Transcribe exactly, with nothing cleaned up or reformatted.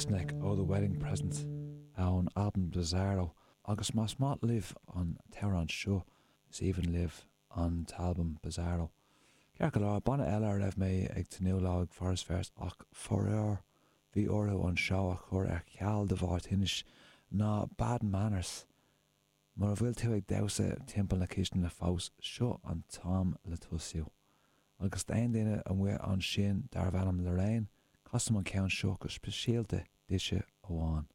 Rasneck ó The Wedding Present ón albam Bizarro agus más maith libh an t-amhrán seo is aoibhinn libh an t-albam Bizarro. Ceart go leor banna eile a raibh mé ag tnúth leo ag Foras Feirste ach faraor bhí orthu an seó a chur ar ceal de bharr tinnis ná Bad Manners. Mura bhfuil tú ag damhsa timpeall na cistine fós seo an t-am le tosú. Agus d'aon duine amuigh ansin darbh ainm Lorraine, casaim an ceann seo go speisialta duitse amháin.